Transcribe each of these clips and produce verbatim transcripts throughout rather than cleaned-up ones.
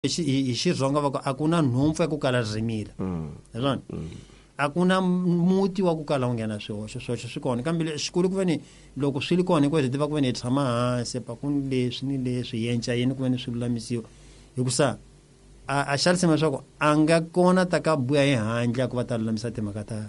Hi Xitsonga va ku a ku na nhompfu ya ku kala rimila. Hi swona. A ku na muti wa ku kala wu nghena swihoxo, swihoxo swi kona kambe xikulu ku ve ni loko swi ri kona hinkwaswo hi tiva ku ve ni hi tshama hansi pa ku ni leswi ni leswi hi enca yini ku ve ni swi lulamisiwa hikusa a a xalisema leswaku a nga kona ta ka buya hi handle ku va ta lulamisa timhaka ta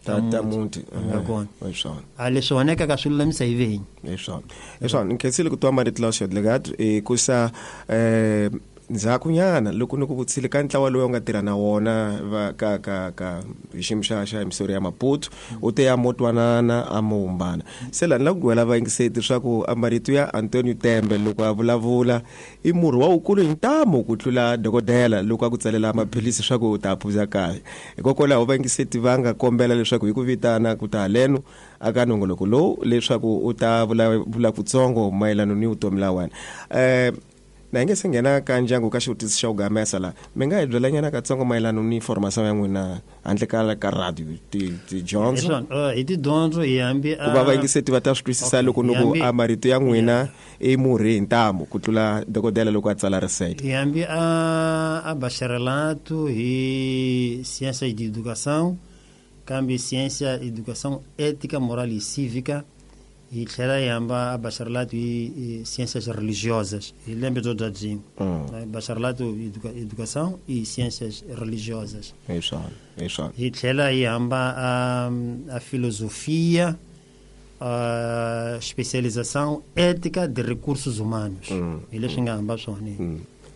ta ta muti a nga kona hi swona a leswi onhekaka swi lulamisa hi venyi hi swona hi swona ni khensile ku twa marito lawa xodlekat hikusa eh ndzhakunyana loko ni ku vutisile ka ntlawa lowu u nga tirha na wona va ka ka ka hi xiyimo xa xa emisori ya Maputo u te ya motwanana a mo humbana se laha ni lava ku gwela vayingiseti leswaku marito ya Antonio Tembe loko a vulavula i murhi wa wukulu hi ntamu ku tlula dokodela loko a ku tsalela maphilisi swa ku u ta phuza kahle hikokwalaho vayingiseti va nga kombela leswaku hi ku vitana ku ta haleno aka nongoloko lowu leswaku u ta vulavula kutsongo mayelana ni vutomi la wena eh na hi nge se nghena ka ndyangu ka xivutiso xa ku gamesa la mi nga hi byelanyana katsongo mayelana ni formation ya n'wina handle ka ka radio ti tidyondzo hi tidyondzo hi hambi ku va vayingiseti va ta swi twisisa loko ni ku a marito ya n'wina i murhi hi ntamu ku tlula dokodela loko a tsala research hi hambi a a bacharelato hi ciência de educação kambe ciência educação ética moral e cívica hi tlhela hi hamba a bacharelato hi ciências religiosas hi lembe byo bya byin'we bacharelato educação e ciências religiosas hi swona hi swona hi tlhela hi hamba a a filosofia a especialização ética de recursos humanos hi leswi nga hamba swona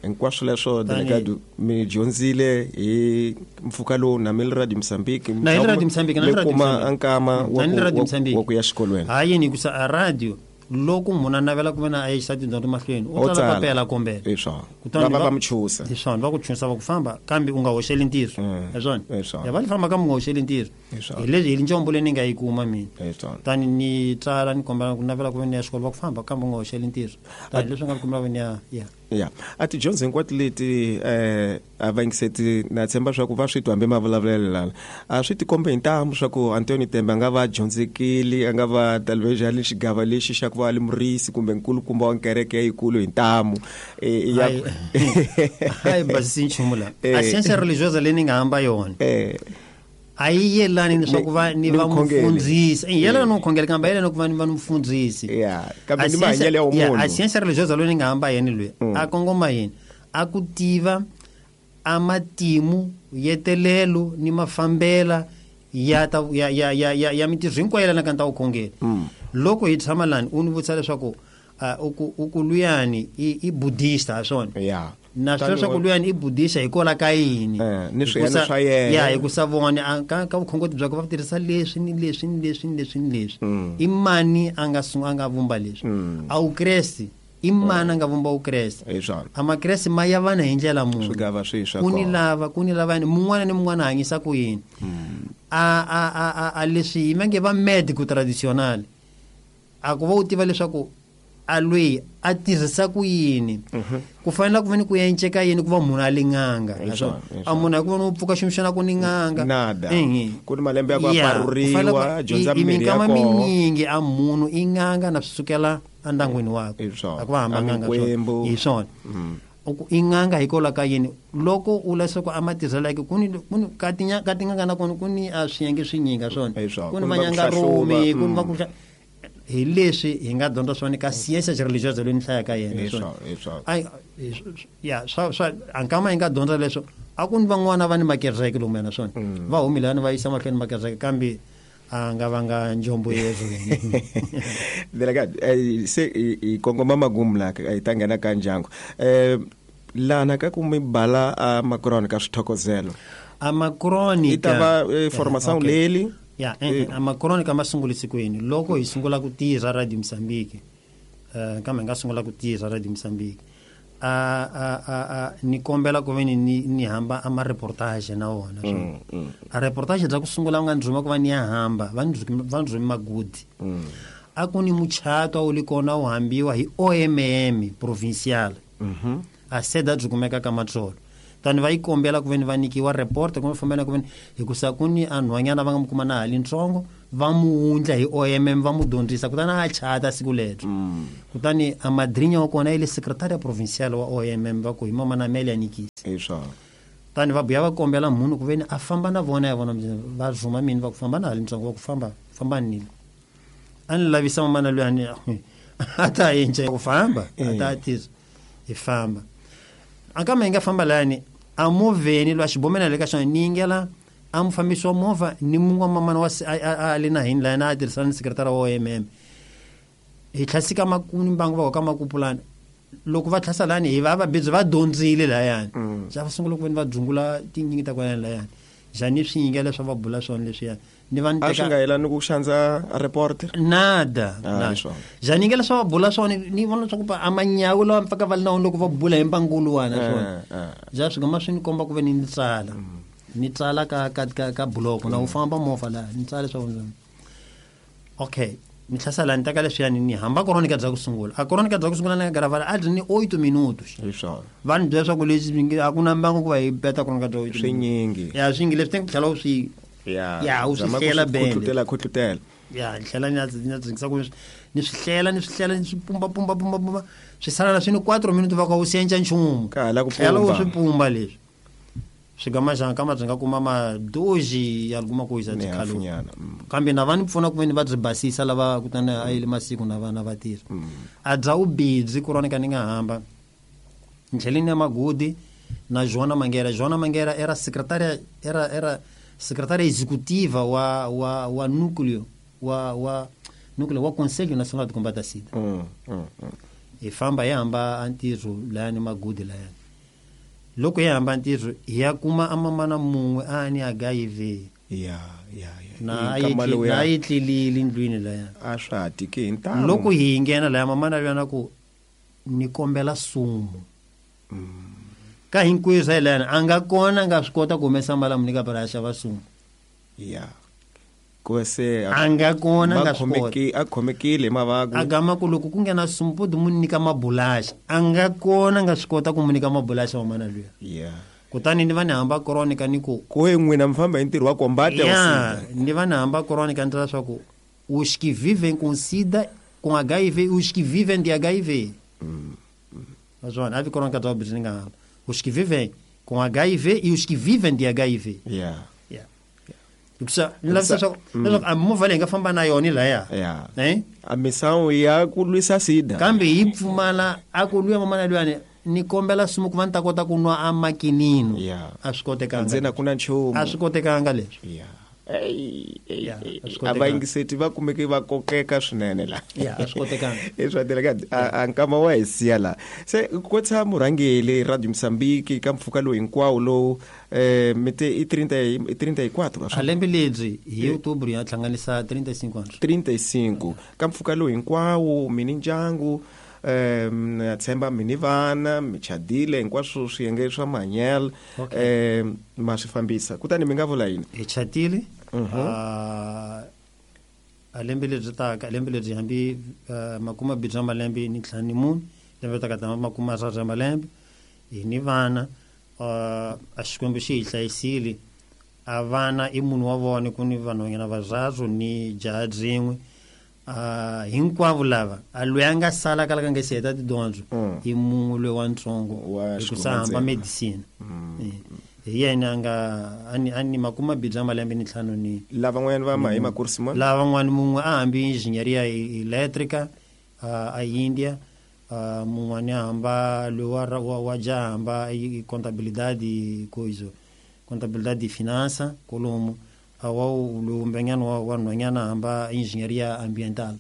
hinkwaswo leswo delegado mi dyondzile hi mpfhuka lowu na mi le Radio Mozambique na hi Radio Mozambique na mi kuma nkama wa ku ya xikolweni ha yini hikusa a radio loko munhu a navela ku ve na a yisa tidyondzo mahlweni u tsala papela kombela hi swona va va va mu chusa hi swona va ku chusa va ku famba kambe u nga hoxeli ntirho hi swona ya va li famba kambe u nga hoxeli ntirho hi leswi hi njombo leyi ni nga yi kuma mina tani ni tsala ni kombela ku navela ku ve ni ya xikolo va ku famba kambe u nga hoxeli ntirho tani leswi nga kumela ve ni ya ya ya a tidyondzo hinkwato leti eh a vayingiseti na tshemba swa ku va swi twa hambi mavulavulelo lana a swi tikombe hi ntamu swa ku Antonio Tembe a nga va dyondzekile a nga va talvejali xigava lexi xa ku va ali murisi kumbe nkulukumba wa nkereke yikulu hi ntamu ya hayi basisi nchumu la a ciência religiosa leyi ni nga hamba yona a yi yelani leswaku va ni va mufundhisi i yelana no khongela kambe yelana ku va ni va mufundhisi ya kambe ni mahanyelo ya munhu a ciência religiosa loyi ni nga hamba yena loyi a kongoma yini a ku tiva a matimu yetelelo ni mafambela ya ta ya ya ya ya, ya mintirho hinkwayo yelana ka ta vukhongeri loko hi tshama lani u ni vutisa leswaku u ku u ku luyani i i buddhista ha swona ya na swi leswaku luyani i buddhista hikwalaho ka yini ni swiyena swa yena ya hikusa vona ka ka vukhongoti byakwe va tirhisa leswi ni leswi ni leswi ni leswi ni leswi i mani a nga a nga vumba leswi a vukreste i mani a nga vumba vukreste a makreste ma ya vana hi ndlela munhu swigava swi swa ku ni lava ku ni lava mun'wana ni mun'wana hanyisa ku yini a a a a leswi va nge va medico traditional a ku va u tiva leswaku a lweyi a tirhisa ku yini ku fanele ku va ni ku enceka yini ku va munhu a li n'anga a munhu a ku va ni u pfuka ximixana ku ni n'anga nada ku ni malembe ya ku aparuriwa dyondza mirhi ya kona minyingi a munhu i n'anga na swi sukela endyangwini wakwe a ku va hamba n'anga hi swona i n'anga hikwalaho ka yini loko u leswaku a matirhelo yake ku ni ku ni ka tinya ka tin'anga na kona ku ni a swiyenge swinyinga swona ku ni vanyangarumi ku ni va ku hi leswi hi nga dyondza swona ka ciência religiosa leyi ni hlayaka yena ai ya swa swa ankama hi nga dyondza leswo a ku ni van'wana va ni makereke lomu yana swona va humile lani va yisa mahlweni makereke kambe a nga vanga njombo yezo delegado se hi kongoma magumu la hi ta nghena ka ndyangu eh lana ka ku mi bala a macron ka swithokozelo a macron yi ta va formation leli ya a macronica ma sungula sikwini loko hi sungula ku tirha Radio Mozambique eh kambe nga sungula ku tirha Radio Mozambique a a a a ni kombela ku ve ni ni hamba a ma reportage na wona swona a reportage bya ku sungula nga ndzi rhuma ku va ni ya hamba va ndzi va ndzi magudi a ku ni muchato a wu li kona wu hambiwa hi O M M provincial a seda byi kumeka ka Matsolo Tani va yi kombela ku veni va nyikiwa report kumbe fambela ku veni hikusa ku ni anhwanyana va nga mu kuma na hali ntsongo va mu wundla hi O M M va mu dyondzisa kutani a chata siku ledyo. Kutani a madrinya wa kona ile secretaria provincial wa O M M va ku hi mama na Amelia Nikisi. Hi swona. Tani va buya va kombela munhu ku veni a famba na vona ya vona va rhuma mini va ku famba na hali ntsongo va ku famba famba ni. A ni lavisa mama na luyani a ta yinje ku famba a ta tisa hi famba. Akama inga famba lani a moveni lwa xibomela le ka xona ni yingela a mufambisi wa movha ni mun'we wa mamana wa a le na hini lana a tirhisana ni sekretara wa O M M. Hi tlhasika makuni mbangu va ka makupulana loko va tlhasa lani hi va va bidzi va dyondzile layani. Ja va sungula ku veni va dzungula tinyingi ta kwalani layani. Jani swi yingela swa va bula swona leswiya ni va ni teka a swi nga yelani ku xandza reporter nada nada jani yingela swa va bula swona ni vona swa ku a manyawu lawa mpaka va na loko va bula hi mbangulu wana swona ja swi nga swi ni komba ku ve ni ni tsala ni tsala ka ka ka ka buloko na u famba movha la ni tsala swa vona. Okay ni tlhasela ni teka leswiya ni hamba crónica bya ku sungula a crónica bya ku sungula na gravar a ni oito minutos. Hi swona. Vanhu byela swa ku leswi a ku na mbangu ku va hi beta crónica bya oito swinyingi. Ya swingi leswi teng tlhela u swi ya ya u swi hlela bende khutlutela khutlutela ya hlela ni ni dzingisa ku ni swi hlela ni swi hlela ni swi pumba pumba pumba pumba swi sala na swi ni quatro minutos va ka u senja nchumu ka hala ku pumba u swi pumba leswi swi gama xana kama byi nga kuma ma doji ya kuma ku yisa tikhalo kambe na va ni pfuna ku veni va byi basisa lava kutani a yile masiku na vana va tirha a bya u bidzi crónica ni nga hamba ndleleni ya magudi na Joana Mangueira. Joana Mangueira era secretária era era secretária executiva wa wa wa núcleo wa wa núcleo wa Conselho Nacional de Combate à SIDA. Mm, mm, mm. E famba ya hamba antirho layani magudi layani loko ya hamba ntirho ya kuma amamana mun'we a ni H I V. Ya ya ya na a yi tlilile ndlwini laya a swa ha tiki hi ntamu. Loko hi nghena laya mamana luyana ku ni kombela sumu ka hinkweswo hi layani a nga kona a nga swi kota ku humesa mali a mu nyika para a xava sumu. Ya ku se a nga kona a nga swi kota a khomekile hi mavabyi a gama ku loko ku nghena sumu po mu nyika mabulaxa a nga kona a nga swi kota ku mu nyika mabulaxa mamana luya. Ya kutani ni va ni hamba crónica ni ku ku n'wina mi famba hi ntirho wa combate wa SIDA ni va ni hamba crónica ni tsala swa ku os que vivem com SIDA com H I V os que vivem de H I V. Mas a vi crónica do ni nga hamba os que vivem com H I V e os que vivem de H I V. Yeah. Hikusa ni lavisa swa leswaku a movha leyi nga famba na yona laya. Eh a misawu ya ku lwisa SIDA kambe yi pfumala a ku luya mamana luyani ni kombela sumu ku va ni ta kota ku nwa a makinino. A swi kotekanga ndzena ku na nchumu a swi kotekanga leswi. Ya a va yingiseti va kumeke va kokeka swinene la. Ya a swi kotekanga i swa delegate a nkama wa hi siya la se ku tshama murhangeli Radio Mozambique ka mpfhuka lowu hinkwawo lowu eh mi te i trinta e quatro a lembe lebyi hi outubro ya hlanganisa trinta e cinco anos trinta e cinco ka mpfhuka lowu hinkwawo mi ni ndyangu eh na tshemba mi ni vana mi chadile hinkwaswo swiyenge swa mahanyelo eh ma swi fambisa kutani mi nga vula yini hi chatile a a lembe lebyi taka lembe lebyi hambi makuma bidza malembe ni ntlhanu ni mune lembe taka ta makuma ra malembe hi ni vana a Xikwembu xi hi hlayisile a vana i munhu wa vona ku ni vanhwanyana vararu ni jaha byin'we a hinkwavo lava a loyi a nga sala kala ka nga si heta tidyondzo i mun'we loyi wa ntsongo hikusa hamba medicine hi yena a nga a ni makuma bidza malembe ni ntlhanu ni lavan'wanyana va ma hi makursi ma lavan'wana mun'we a hambi engineeria elétrica a India mun'wani a hamba loyi wa wa jaha hamba i contabilidade coisa contabilidade e finança kolomo awa lumbenyana wa wanhwanyana hamba engineeria ambiental.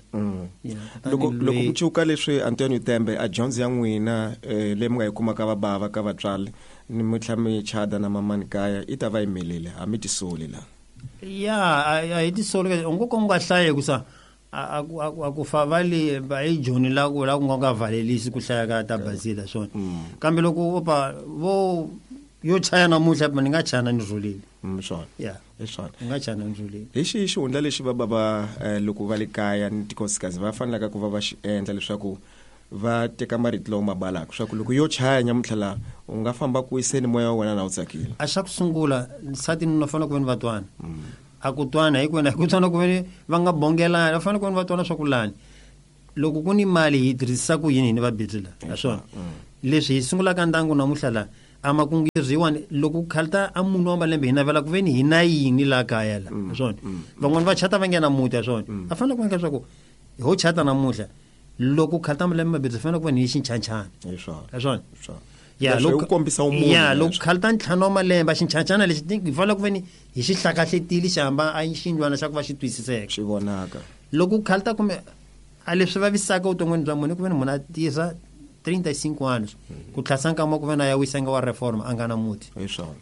Loko loko ku cuka leswi Antonio Tembe a dyondzo ya n'wina leyi mi nga yi kumaka va bava ka vatswari ni mi tlhela mi chada na mamani kaya i ta va yimelele a mi tisoli la. Ya a hi tisoli u ngo ko nga hlayi ku sa a a ku fa vale va i joni la ku la ku nga nga valelisi ku hlaya ka ta bazila swona kambe loko opa vo yo chaya namuntlha ni nga chana ni rhulile. Swona ya hi swona ni nga chana ni rhulile. Hi xihi xihundla lexi va bava loko va le kaya ni tikosikazi va fanelaka ku va va xi endla leswaku va teka marito lawa ma balaka swa ku loko yo chaya nyamuntlha la u nga famba ku wiseni moya wa wena na wu tsakile a xa ku sungula nsati ni fanele ku ve ni va twana a ku twana hi ku wena ku twana ku ve ni va nga bongelani va fanele ku ve ni va twana swa ku lani loko ku ni mali hi tirhisa ku yini hi ni va bidzi la naswona leswi hi sungulaka ndyangu namuntlha la a makungiriwani loko ku khalta a munhu wa malembe hi navela ku ve ni hi na yini laha kaya la naswona van'wani va chata va nghena muti naswona a fanele ku endla leswaku ho chata namuntlha loko khalta malembe mabirhi fanele ku va ni xinchanchana naswona ya loko kombisa umunhu ya loko khalta ntlhanu wa malembe xinchanchana lexi hi fanele ku ve ni hi xi hlakahletile xi hamba a xindlwana xa ku va xi twisiseka xi vonaka loko khalta kumbe a leswi vavisaka vuton'wini bya munhu ku ve ni munhu a tirha trinta e cinco anos ku tlhasa nkama ku ve na ya wisanga wa reforma a nga na muti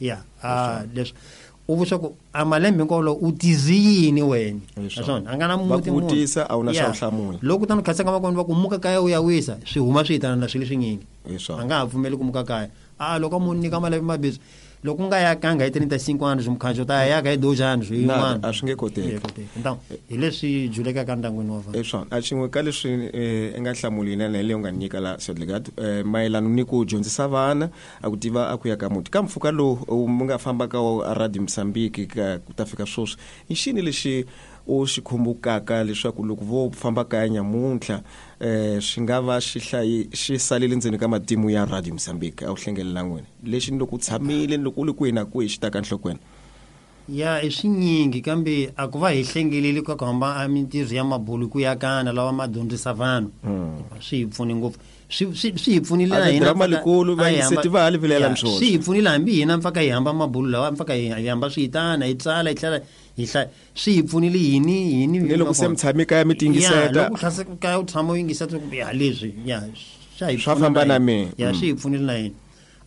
ya a leswi u vuswa ku a malembe hinkwawo lowu u tizi yini wena naswona a nga na muti munhu vutisa a wu na xa hlamula loko tano khatsa ka makona va ku muka kaya u ya wisa swi huma swi hitana na swilo swinyingi a nga ha pfumeli ku muka kaya a loko munhu nyika malembe mabirhi loko nga ya kanga hi trinta e cinco anos mukhanjo ta ya ka hi dois anos yin'wana a swi nge koteki então hi leswi julekaka ndyangwini wa vanhu hi swona a xin'we ka leswi i nga hlamuli na leyi u nga nyika la Sedlegat mayelana ni ku dyondzisa vana a ku tiva a ku ya ka muti ka mpfhuka lowu mu nga famba ka Radio Mozambique ka ku ta fika sweswi i xini lexi u xi khumbukaka leswaku loko vo famba kaya nyamuntlha eh swi nga va xi hlayi xi salele ndzeni ka matimu ya Radio Mozambique a wu hlengelela n'wina lexi ni loko u tshamile ni loko u le kwihi na kwihi xi ta ka nhlokweni ya i swinyingi kambe a ku va hi hlengeleli ka ku hamba a mintirho ya mabulu ku yakana lawa ma dyondzisa vanhu swi hi pfune ngopfu swi swi hi pfunile na hina drama likulu va yiseti va hali vilela mswona swi hi pfunile hambi hina mpfaka hi hamba mabulu lawa mpfaka hi hamba swi hitana hi tsala hi tlhela hi hlaya swi hi pfunile yini yini ni loko se mi tshame kaya mi tingiseta loko tlhase kaya u tshama u yingiseta ya leswi ya swa hi swa famba na mina ya swi hi pfunile na hina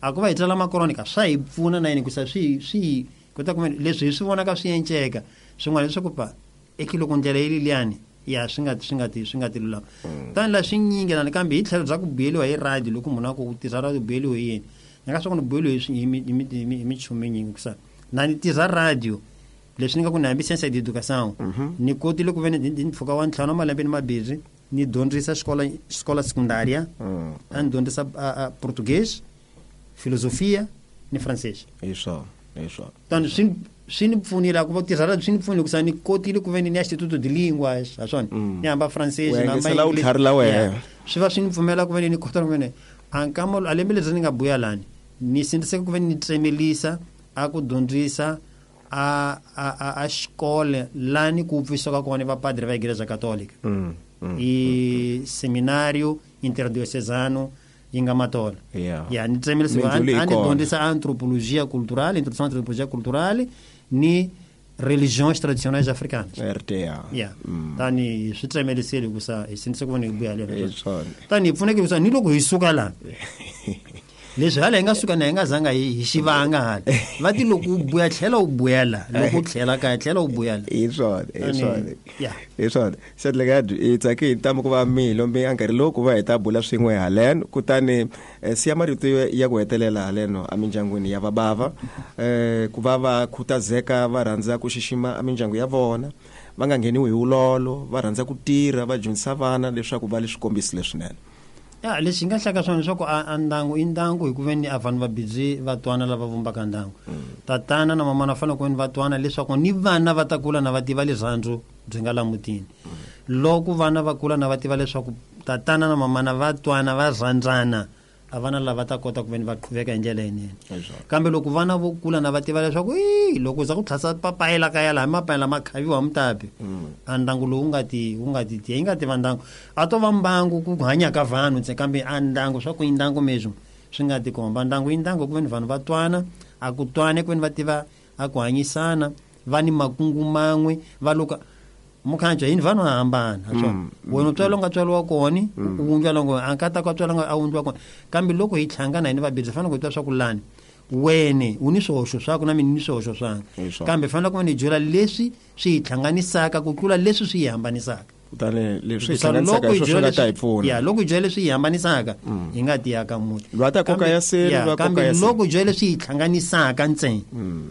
a ku va hi tsala makronika swa hi pfuna na hina ku sa swi swi kota ku leswi hi swi vonaka swi enceka swin'wana leswaku pa eki loko ndlela yi liyani ya swi nga swi nga ti swi nga ti lulama tani la swinyingi na kambe hi tlhelo bya ku buyeliwa hi radio loko munhu a ku tirha radio buyeliwe hi yini ni nga swa ku ni buyeliwe hi hi michumu yinyingi kusa na ni tirha radio leswi ni nga ku ni hambi science d'education ni kotile ku ve ni mpfhuka wa ntlhanu wa malembe ni mabirhi ni dyondzisa xikola xikola secundária a ni dyondzisa português filosofia ni francês hi swona hi swona tani swi swi ni pfunile ku va tirha radio swi ni pfunile ku sa ni kotile ku ve ni ya Instituto de Línguas ha swona ni hamba francês na hamba u la wena swi va swi ni pfumela ku ve ni kota ku ve ni a nkama a lembe leri ni nga buya lani ni sindziseka ku ve ni tsemelisa a ku dyondzisa a a a xikolo lani ku pfisaka kona vapadre va Igreja Católica i seminário interdiocesano yi nga Matola ya ni tsemelisa a ni dyondzisa antropologia cultural introdução à antropologia cultural ni religiões tradicionais africanas R T A ya tani swi tsemelisile ku sa hi sindzise ku va ni buya lero tani hi pfuneke ku sa ni loko hi suka la leswi hala hi nga suka na hi nga zanga hi xivanga hala va ti loko u buya tlhela u buya la loko u tlhela kaya tlhela u buya la hi swona hi swona hi swona Sedlegat hi tsake hi ntamu ku va mi lombe a nkarhi lowu ku va hi ta bula swin'we haleno kutani siya marito ya ku hetelela haleno emindyangwini ya vabava um ku va va khutazeka va rhandza ku xixima emindyangu ya vona va nga ngheniwi hi vulolo va rhandza ku tirha va dyondzisa vana leswaku va le swikombiso leswinene ya lexi nga hlaka swona leswaku a ndyangu i ndyangu hi ku ve ni a vanhu va busy va twana lava vumbaka ndyangu tatana na mamana fanele ku ve ni va twana leswaku ni vana va ta kula na va tiva rirhandzu byi nga la mutini loko vana va kula na va tiva leswaku tatana na mamana va twana va rhandzana a vana lava ta kota ku ve ni va qhuveka hi ndlela yinene kambe loko vana vo kula na va tiva leswaku i loko za ku tlhasa papayela kaya laha mapayela ma khaviwa mutapi a ndyangu lowu nga ti wu nga ti tiya yi nga tiva ndyangu a to va mbangu ku hanya ka vanhu ntsena kambe a ndyangu swa ku i ndyangu mesmo swi nga ti komba ndyangu i ndyangu ku ve ni vanhu va twana a ku twane ku ve ni va tiva a ku hanyisana va ni makungu man'we va luka mukhanjo yini vanhu hambana swona wena u tswala nga tswariwa kona u wundliwa longo a ka ta ka tswala nga a wundliwa kona kambe loko hi hlangana hini vabirhi fanele ku twa swa ku lani wene u ni swihoxo swaku na mina ni swihoxo swanga kambe fanele ku va ni byela leswi swi hi hlanganisaka ku tlula leswi swi hi hambanisaka kutani leswi hi hlanganisaka hi swona ta hi pfuna ya loko hi byela leswi hi hambanisaka hi nga ti aka muti lwa ta koka ya sele lwa koka ya sele loko hi byela leswi hi hlanganisaka ntsena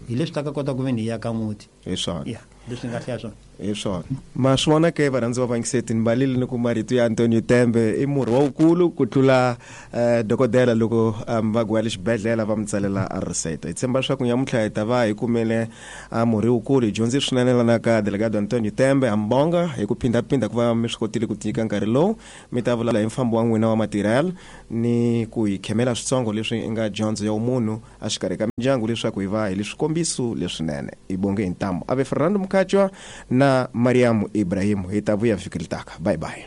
hi leswi ta ka kota ku ve ni hi aka muti hi swona ya leswi nga hlaya swona Hi swona ma swi vona ke varhandzi va vangiseti ni balile ni ku marito ya Antonio Tembe i murhi wa wukulu ku tlula eh, dokodela loko um, va guya le xibedhlele va mi tsalela a receipt. Hi tshemba leswaku nyamuntlha hi ta va hi kumele a murhi wukulu hi dyondze swinene lana ka delegado Antonio Tembe. Hambonga hi ku phindaphinda ku va mi swi kotile ku tinyika nkarhi lowu mi ta vulavula hi mfambo wa n'wina wa matirhelo ni ku hi khemela switsongo leswi nga dyondzo ya munhu exikarhi ka mindyangu leswaku hi va hi le swikombiso leswinene. Hi bonge hi ntamu ave Fernando Mukachwa na Mariamu Ibrahim. Hi ta vuya vhiki ritaka. Bye bye.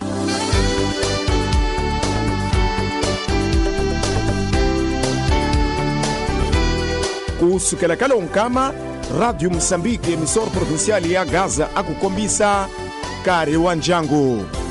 Ku sukela ka lonkama Radio Mozambique emissora provincial ya Gaza a ku kombisa nkarhi wa ndyangu.